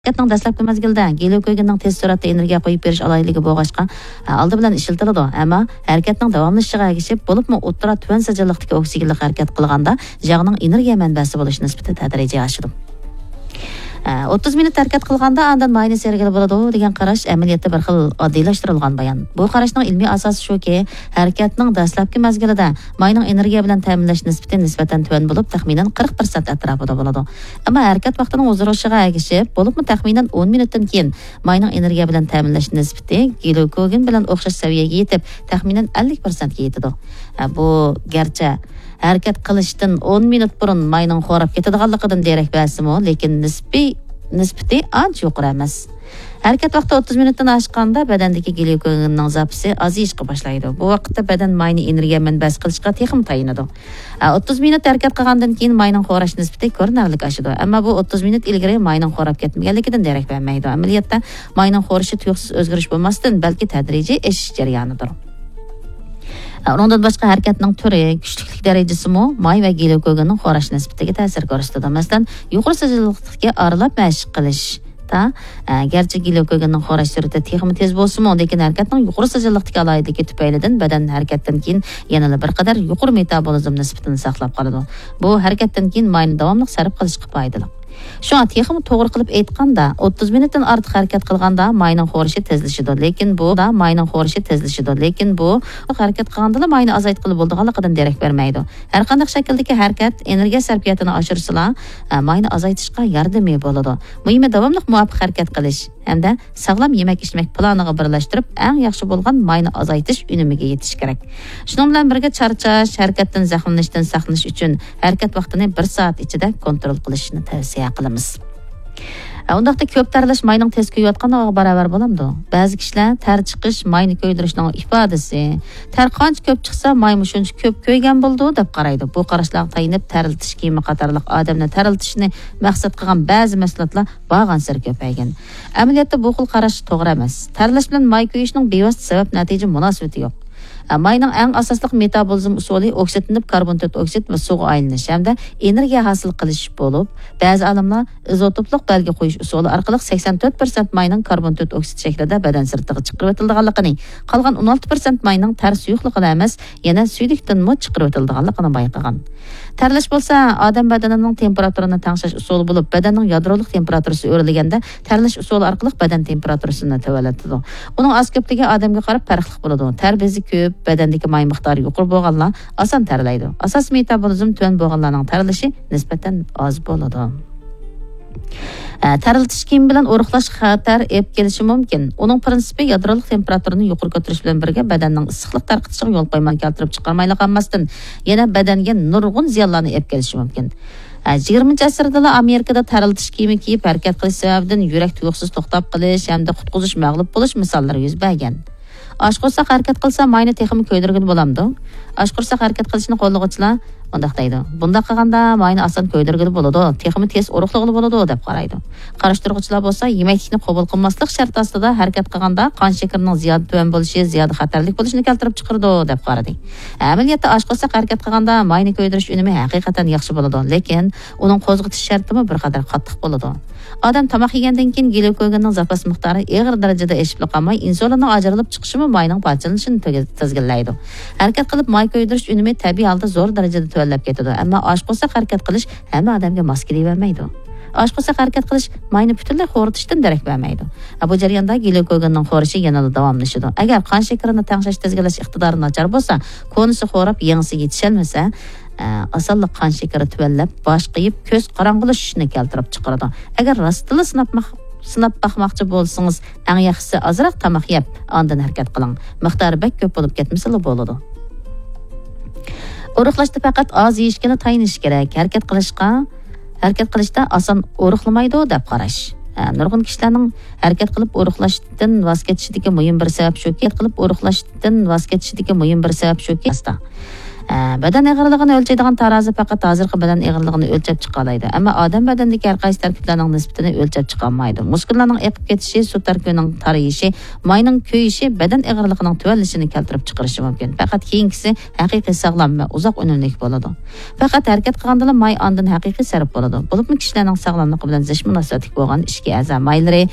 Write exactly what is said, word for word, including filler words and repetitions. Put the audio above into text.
ھەرىكەتنىڭ دەسلەپكى مەزگىلىدە گليۇكوگېننىڭ تېز سۈرئەتتە ئېنېرگىيە قويۇپ بېرىش ئالاھىدىلىكى بولغاچقا، ئالدى بىلەن ئىشلىتىلىدۇ. ئەمما ھەرىكەتنىڭ داۋاملىشىشىغا ئەگىشىپ، بولۇپمۇ ئوتتۇرا تۆۋەن سىجىللىقتىكى ئوكسىگېنلىق ھەرىكەت قىلغاندا ياغنىڭ ئېنېرگىيە مەنبەسى بولۇش نىسبىتى تەدرىجىي ئاشىدۇ. ئوتتۇز مىنۇت ھەرىكەت قىلغاندا ئاندىن ماينى سېرىگىلى بولىدۇ دېگەن قاراش ئەمەلىيەتتە بىر خىل ئاددىيلاشتۇرۇلغان بايان. بۇ قاراشنىڭ ئىلمىي ئاساسى شۇكى، ھەرىكەتنىڭ دەسلەپكى مەزگىلىدە ماينىڭ ئېنېرگىيە بىلەن تەمىنلەش نىسبىتى نىسبەتەن تۆۋەن بولۇپ، تەخمىنەن قىرىق پىرسەنت ئەتراپىدا بولىدۇ. ئەمما ھەرىكەت ۋاقتىنىڭ ئۇزىرىشىغا ئەگىشىپ، بولۇپمۇ تەخمىنەن ئون مىنۇتتىن كېيىن ماينىڭ ئېنېرگىيە بىلەن تەمىنلەش نىسبىتى گليۇكوگېن بىلەن ئوخشاش سەۋىيەگە يېتىپ، تەخمىنەن ئەللىك پىرسەنتكە يېتىدۇ. بۇ گەرچە ھەرىكەت قىلىشتىن ئون مىنۇت بۇرۇن ماينىڭ خوراپ كېتىدىغانلىقىدىن دېرەك بەرسىمۇ، لېكىن نىسپىي، نىسبىتى ئانچە يۇقىرى ئەمەس. ھەرىكەت ۋاقتى ئوتتۇز مىنۇتتىن ئاشقاندا بەدەندىكى گليۇكوگېننىڭ زاپىسى ئازىيىشقا باشلايدۇ. بۇ ۋاقىتتا بەدەن ماينى ئېنېرگىيە مەنبەسى قىلىشقا تېخىمۇ تايىنىدۇ. ئوتتۇز مىنۇت ھەرىكەت قىلغاندىن كېيىن ماينىڭ خوراش نىسبىتى كۆرۈنەرلىك ئاشىدۇ. ئەمما بۇ ئوتتۇز مىنۇت ئىلگىرى ماينىڭ خوراپ كەتمىگەنلىكىدىن دېرەك بەرمەيدۇ. ئەمەلىيەتتە ماينىڭ خورىشى تۇيۇقسىز ئۆزگىرىش بولماستىن، بەلكى تەدرىجىي ئېشىش جەريانىدۇر. ئۇنىڭدىن باشقا ھەرىكەتنىڭ تۈرى، كۈچلۈكلۈك دەرىجىسىمۇ ماي ۋە گليۇكوگېننىڭ خوراش نىسبىتىگە تەسىر كۆرسىتىدۇ. مەسىلەن، يۇقىرى سىجىللىقتىكى ئارىلاپ مەشىق قىلىشتا، ئە، گەرچە گليۇكوگېننىڭ خوراش سۈرئىتى تېخىمۇ تېز بولسىمۇ، لېكىن ھەرىكەتنىڭ يۇقىرى سىجىللىقتىكى ئالاھىدىلىكى تۈپەيلىدىن بەدەن ھەرىكەتتىن كېيىن يەنىلا بىر قەدەر يۇقىرى مېتابولىزم نىسبىتىنى ساقلاپ قالىدۇ. بۇ ھەرىكەتتىن كېيىن ماينى داۋاملىق سەرپ قىلىشقا پايدىلىق. شۇڭا تېخىمۇ توغرا قىلىپ ئېيتقاندا، ئوتتۇز مىنۇتتىن ئارتۇق ھەرىكەت قىلغاندا ماينىڭ خورىشى تېزلىشىدۇ. لېكىن بۇ، ماينىڭ خورىشى تېزلىشىدۇ. لېكىن بۇ ھەرىكەت قىلغاندىلا ماينى ئازايتقىلى بولىدىغانلىقىدىن دېرەك بەرمەيدۇ. ھەر قانداق شەكىلدىكى ھەرىكەت ئېنېرگىيە سەرپىياتىنى ئاشۇرسىلا، ئە، ماينى ئازايتىشقا ياردىمى بولىدۇ. مۇھىمى داۋاملىق مۇۋاپىق ھەرىكەت قىلىش ھەمدە ساغلام يېمەك-ئىچمەك پىلانىغا بىرلەشتۈرۈپ، ئەڭ ياخشى بولغان ماينى ئازايتىش ئۈنۈمىگە يېتىش كېرەك. شۇنىڭ بىلەن بىرگە، چارچاش، ھەرىكەتتىن زەخىملىنىشتىن ساقلىنىش ئۈچۈن ھەرىكەت ۋاقتىنى بىر سائەت ئىچىدە كونترول قىلىشنى تەۋسىيە قىلىمىز. ئە، ئۇنداقتا كۆپ تەرلەش ماينىڭ تېز كۆيۈۋاتقانلىقىغا باراۋەر بولامدۇ؟ بەزى كىشىلەر تەر چىقىش ماينى كۆيدۈرۈشنىڭ ئىپادىسى، تەر قانچە كۆپ چىقسا، مايمۇ شۇنچە كۆپ كۆيگەن بولىدۇ، دەپ قارايدۇ. بۇ قاراشلارغا تايىنىپ، تەرلىتىش كىيىمى قاتارلىق ئادەمنى تەرلىتىشنى مەقسەت قىلغان بەزى مەھسۇلاتلار بارغانسېرى كۆپەيگەن. ئەمەلىيەتتە بۇ خىل قاراش توغرا ئەمەس. تەرلەش بىلەن ماي كۆيۈشنىڭ بىۋاسىتە سەۋەب نەتىجە مۇناسىۋىتى يوق. ئە، ماينىڭ ئەڭ ئاساسلىق مېتابولىزم ئۇسۇلى ئوكسىدلىنىپ، كاربون تۆت ئوكسىد ۋە سۇغا ئايلىنىش ھەمدە ئېنېرگىيە ھاسىل قىلىش بولۇپ، بەزى ئالىملار ئىزوتوپلۇق بەلگە قويۇش ئۇسۇلى ئارقىلىق سەكسەن تۆت پىرسەنت ماينىڭ كاربون تۆت ئوكسىد شەكلىدە بەدەن سىرتىغا چىقىرىۋېتىلىدىغانلىقىنى، قالغان ئون ئالتە پىرسەنت ماينىڭ تەر سۇيۇقلۇقىلا ئەمەس، يەنە سۈيدۈكتىنمۇ چىقىرىۋېتىلىدىغانلىقىنى بايقىغان. تەرلەش بولسا ئادەم بەدىنىنىڭ تېمپېراتۇرىنى تەڭشەش ئۇسۇلى بولۇپ، بەدەننىڭ يادرولۇق تېمپېراتۇرىسى ئۆرلىگەندە، تەرلەش ئۇسۇلى ئارقىلىق بەدەن تېمپېراتۇرىسىنى تۆۋەنلىتىدۇ. ئۇنىڭ ئاز كۆپلۈكى ئادەمگە قاراپ پەرقلىق بولىدۇ. تەر بېزى كۆپ، بەدەندىكى ماي مىقدارى يۇقىرى بولغانلار ئاسان تەرلەيدۇ. ئاساسىي مېتابولىزم تۆۋەن بولغانلارنىڭ تەرلىشى نىسبەتەن ئاز بولىدۇ. ئە، تەرلىتىش كىيىمى بىلەن ئورۇقلاش خەتەر ئېلىپ كېلىشى مۇمكىن. ئۇنىڭ پىرىنسىپى يادرولۇق تېمپېراتۇرىنى يۇقىرى كۆتۈرۈش بىلەن بىرگە بەدەننىڭ ئىسسىقلىق تارقىتىشىغا يول قويماي كەلتۈرۈپ چىقارمايلا قالماستىن، يەنە بەدەنگە نۇرغۇن زىيانلارنى ئېلىپ كېلىشى مۇمكىن. ئە، يىگىرمىنچى ئەسىردىلا ئامېرىكىدا تەرلىتىش كىيىمى كىيىپ ھەرىكەت قىلىش سەۋەبىدىن يۈرەك تۇيۇقسىز توختاپ قېلىش ھەمدە قۇتقۇزۇش مەغلۇپ بولۇش مىساللىرى يۈز بەرگەن. ئاچ قورساق ھەرىكەت قىلسا ماينى تېخىمۇ كۆيدۈرگىلى بولامدۇ؟ ئاچ قورساق ھەرىكەت قىلىشنى قوللىغۇچىلار مۇنداق دەيدۇ: بۇنداق قىلغاندا ماينى ئاسان كۆيدۈرگىلى بولىدۇ، تېخىمۇ تېز ئورۇقلىغىلى بولىدۇ، دەپ قارايدۇ. قارشىلىغۇچىلار بولسا يېمەكلىكنى قوبۇل قىلماسلىق شەرتى ئاستىدا ھەرىكەت قىلغاندا قان شېكىرىنىڭ زىيادە تۆۋەن بولۇشى زىيادە خەتەرلىك بولۇشىنى كەلتۈرۈپ چىقىرىدۇ، دەپ قارىدى. ئەمەلىيەتتە ئاچ قورساق ھەرىكەت قىلغاندا ماينى كۆيدۈرۈش ئۈنۈمى ھەقىقەتەن ياخشى بولىدۇ، لېكىن ئۇنىڭ قوزغىتىش شەرتىمۇ بىر قەدەر قاتتىق بولىدۇ. ئادەم تاماق يېگەندىن كېيىن گليۇكوگېننىڭ زاپاس مىقدارى ئېغىر دەرىجىدە ئېشىپلا قالماي، ئىنسۇلىننىڭ ئاجرىلىپ چىقىشىمۇ ماينىڭ پارچىلىنىشىنى تىز-، تىزگىنلەيدۇ. ھەرىكەت قىلىپ ماي كۆيدۈرۈش ئۈنۈمى تەبىئىي ھالدا زور دەرىجىدە تۆۋەنلەپ كېتىدۇ، ئەمما ئاچ قورساق ھەرىكەت قىلىش ھەممە ئادەمگە ماس كېلىۋەرمەيدۇ. ئاچ قورساق ھەرىكەت قىلىش ماينى پۈتۈنلەي خورىتىشتىن دېرەك بەرمەيدۇ. بۇ جەرياندا گليۇكوگېننىڭ خورىشى يەنىلا داۋاملىشىدۇ. ئەگەر قان شېكىرىنى تەڭشەش تىزگىنلەش ئىقتىدارى ناچار بولسا، كونىسى خوراپ، يېڭىسى يېتىشەلمىسە، ئە، ئاسانلا قان شېكىرى تۆۋەنلەپ، باش قېيىپ، كۆز قاراڭغۇلىشىشنى كەلتۈرۈپ چىقىرىدۇ. ئەگەر راستلا سىناپ ماق-، سىناپ باقماقچى بولسىڭىز، ئەڭ ياخشىسى ئازراق تاماق يەپ، ئاندىن ھەرىكەت قىلىڭ. مىقدارى بەك كۆپ بولۇپ كەتمىسىلا بولىدۇ. ئورۇقلاشتا پەقەت ئاز يېيىشكىلا تايىنىش كېرەك. ھەرىكەت قىلىشقا، ھەرىكەت قىلىشتا ئاسان ئورۇقلىمايدۇ دەپ قاراش. ئە، نۇرغۇن كىشىلەرنىڭ ھەرىكەت قىلىپ ئورۇقلاشتىن ۋاز كېچىشىدىكى مۇھىم بىر سەۋەب شۇكى، قىلىپ ئورۇقلاشتىن ۋاز كېچىشىدىكى مۇھىم بىر سەۋەب شۇكى، ئاستا. بەدەن ئېغىرلىقىنى ئۆلچەيدىغان تارازا پەقەت ھازىرقى بەدەن ئېغىرلىقىنى ئۆلچەپ چىقالايدۇ، ئەمما ئادەم بەدىنىدىكى ھەر قايسى تەركىبلەرنىڭ نىسبىتىنى ئۆلچەپ چىقالمايدۇ. مۇسكۇللارنىڭ ئېقىپ كېتىشى، سۇ تەركىبىنىڭ تارىيىشى، ماينىڭ كۆيۈشى بەدەن ئېغىرلىقىنىڭ تۆۋەنلىشىنى كەلتۈرۈپ چىقىرىشى مۇمكىن. پەقەت كېيىنكىسى ھەقىقىي ساغلام ۋە ئۇزاق ئۈنۈملۈك بولىدۇ. پەقەت ھەرىكەت قىلغاندىلا ماي ئاندىن ھەقىقىي سەرپ بولىدۇ. بولۇپمۇ كىشىلەرنىڭ ساغلاملىقى بىلەن زىچ مۇناسىۋەتلىك بولغان ئىچكى ئەزا مايلىرى